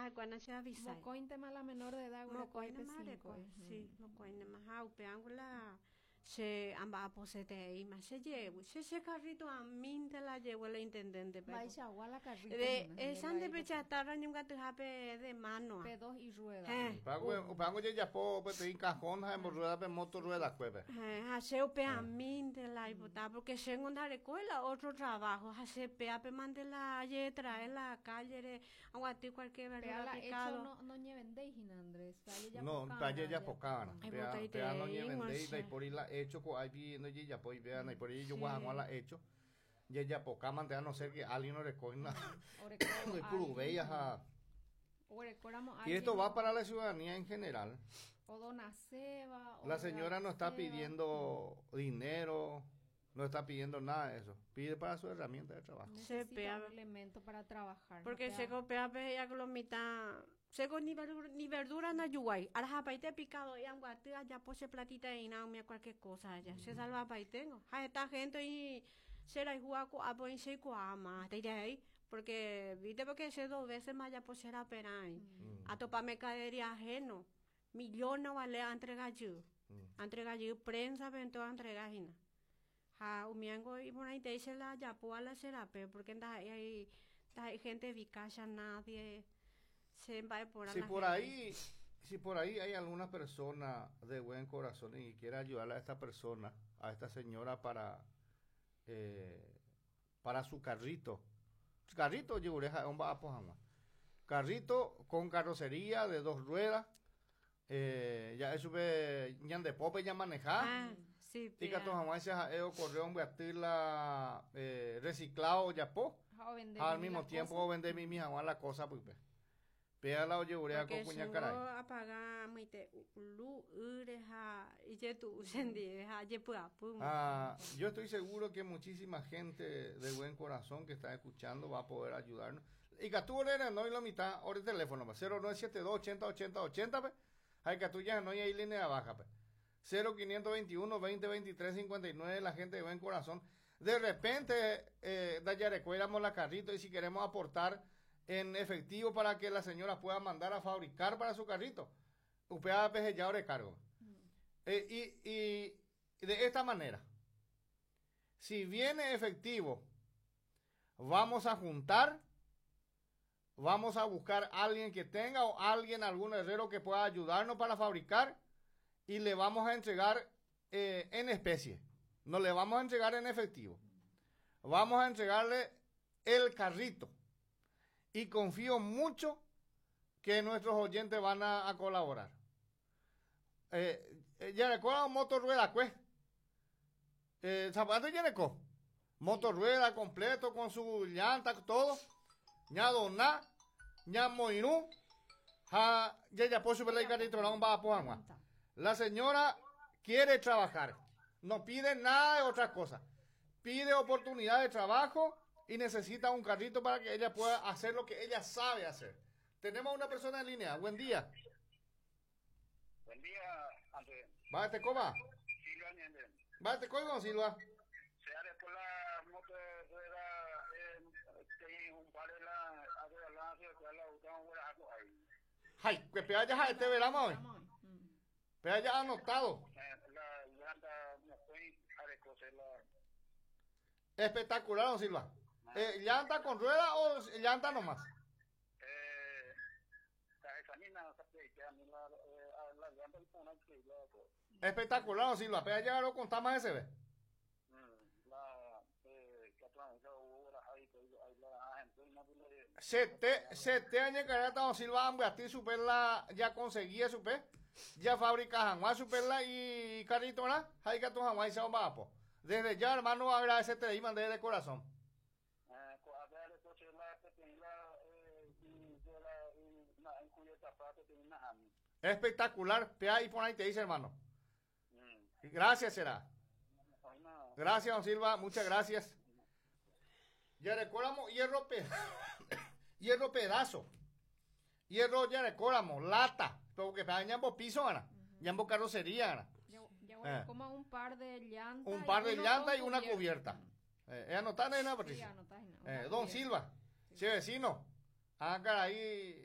Ha'ekuéra che avisái. Mokõintema la menor de edad guereko Mokõinema pe areko, 5. sí, mokõinema. Ha upe la che amba'aposetereíma che jevy, che che carrito amínte la jevy la intendente pe. Mba'eichagua la carrito De hína, esa nde nde la pechatarra ñembyatyhápe de mano. Pe dos y rueda. Eh. Upévango ojejapo peteĩ cajón ha emborrueda pe moto ruedakuépe. Ha che upe amínte la aipota porque chéngo ndarekói la otro trabajo ha che péape mante la ajetrae la calle re aguaty cualquier Péa verdura la hecho picado. no noñevendéi hína Andrés, pe No, ajejapokava'erã. pe ajejapokava'erã. Péa, péa Aipotaiterei noñevendéi, che. ndaipóri la hecho ko'águi ndojejapói péa ndaipóri ejogua Sí. hag̃ua la hecho. Jajapokámante a no ser que alguien orekóina Oreko ndoipuruvéi alguien. ha Oguerekóramo Y esto va alguien para la ciudadanía en general. o donaceba, o La señora no está regalaceba. pidiendo dinero, no está pidiendo nada de eso. Pide para su herramienta de trabajo. Necesita pea- un elemento para trabajar. Porque no che pea- ko péape he'i lo mitã chéko ni verdura, ni verdura ndajuguái arahapaite picado anguaty ajapo che platita eína umi cualquier cosa aja che salvapaitengo ha heta gente oĩ che rayhúva ko'ápe oĩ cheikuaáma hasta porque viste porque che dos veces ma ajapo che raperãi atopa mercadería ajeno millones vale antrega jey antrega jey prensa pe entonces antrega hína ha umiango iporãitei che la ajapóva la che rape porque ndaha'éi ndaha'éi gente vikacha nadie che mba'eporã Si la por gente. ahí, si por ahí hay alguna persona de buen corazón y quiere ayudarle a esta persona, a esta señora para su carrito. Carrito ojerureha omba'apo hag̃ua. Carrito con carrocería de dos ruedas. Ya chupe ñandepópe ñamaneja. Ah, sí, pea. Ikatu hag̃uáicha ha'e ocorre ombyaty la reciclado ojapo. Ha ovende Ha al mimi mismo la tiempo cosa. ovende mimi hag̃ua la cosa pype. Péa la ojerurea ko Porque kuñakarai. chéngo apaga mbyte luz ýre ha ijetu'u chendive ha ajepy'apýma. Ah, yo estoy seguro que muchísima gente de buen corazón que está escuchando va a poder ayudarnos. Ikatu ore renói lo mitã ore teléfono pe 0972 80 80 80 pe ha ikatu jahenói ahí línea baja pe 0521 20 23 59 la gente de buen corazón. De repente ndajarekuéramo la carrito y si queremos aportar en efectivo para que la señora pueda mandar a fabricar para su carrito, upéva peheja ore cargo. Y de esta manera, si viene efectivo, vamos a juntar, vamos a buscar a alguien que tenga o alguien, algún herrero que pueda ayudarnos para fabricar y le vamos a entregar en especie. No le vamos a entregar en efectivo. Vamos a entregarle el carrito. Y confío mucho que nuestros oyentes van a colaborar. Ya recuerdo moto rueda, pues. Zapato ya recuerdo. Moto rueda completo con su llanta, todo. Ña doná, ña moirũ, ha ya ya puedo subir la carrito, no va a poner. La señora quiere trabajar. No pide nada de otra cosa. Pide oportunidad de trabajo y necesita un carrito para que ella pueda hacer lo que ella sabe hacer. Tenemos una persona en línea. Buen día. Buen día, Andrés. Va, te coma. Silva Ñende. Va, te coima, Silva. Se haré por la moto de rueda, que un par de la, de la, de la, de la, ahí. Ay, que pea ya este verano hoy. Vamos hoy. Pea ya anotado. La llanta no estoy a recoger la. Espectacular, don Silva. ¿Llanta con rueda o llanta nomás? La examina, que a mí la llanta y pone que la, Espectacular, don Silva. Pea ya lo contamos ese, ve. La, que atrás, la, ahí, ahí, la gente, no, le, Sete años que don Silva ambiati super la ya conseguía super ya fabrica hag̃ua superla y carrito ¿verdad? Hay que tu hag̃ua y se va Desde ya, hermano, agradecerte ahí, mandé de corazón. A ver, entonces la que tiene la, y de la, y na, en cuya etapa que tiene na, Espectacular. Pea ahí por ahí te dice, hermano. Gracias, será. Gracias, don Silva. Muchas gracias. Ya recordamos hierro pedazo. Hierro ya recordamos, lata. Porque pea ñambo piso, gana. Ñambo carrocería, gana. Ya bueno, como un par de llantas. Un y par de uno llantas con y una cubierta. Anotar, ¿no, Sí, Patricia? anotá, no, una Don cubierta. Silva, sí, vecino. Ah, ahí.